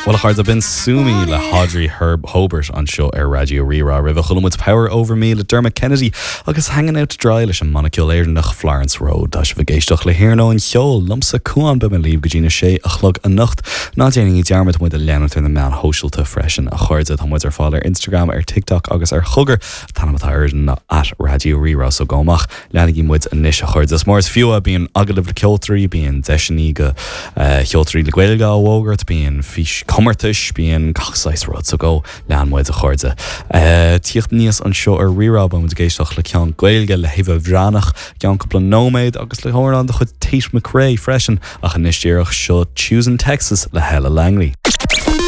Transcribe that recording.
Bhuel, a chairde, b'in Sue Me le hAudrey Herb Hobert anseo ar Raidió Rí-Rá. Roimhe chuala muid Power Over Me le Dermot Kennedy agus Hanging Out To Dry leis an mbanna ceoil Éireannach Florence Road. Tá sibh ag éisteacht le hIarnóin Cheoil, liomsa Cuán, beidh mé libh go dtí na sé a chlog anocht. Ná déanaigí dearmad muid a leanúint ar na meáin shóisialta freisin, a chairde. Tá muid ar fáil ar Instagram, ar TikTok agus ar Chogar. An t-ainm atá orainn ná at Raidió Rí-Rá, so gabh amach. Leanaigí muid anois, a chairde. Is mar is fiú é, bíonn agallaimh le ceoltóirí, bíonn deiseanna do cheoltóirí le Gaeilge á bhfógairt, bíonn fís comórtais, bíonn gach saghas rud, so go lean muid, a chairde. Tíocht aníos anseo ar Rí-Rá, beidh muid ag éisteacht le ceann Gaeilge le hÉabha Bhreathnach i gceann cúpla nóiméad agus le hamhrán de chuid Tate McRae freisin, ach anois díreach, seo Choosing Texas le Hella Langley.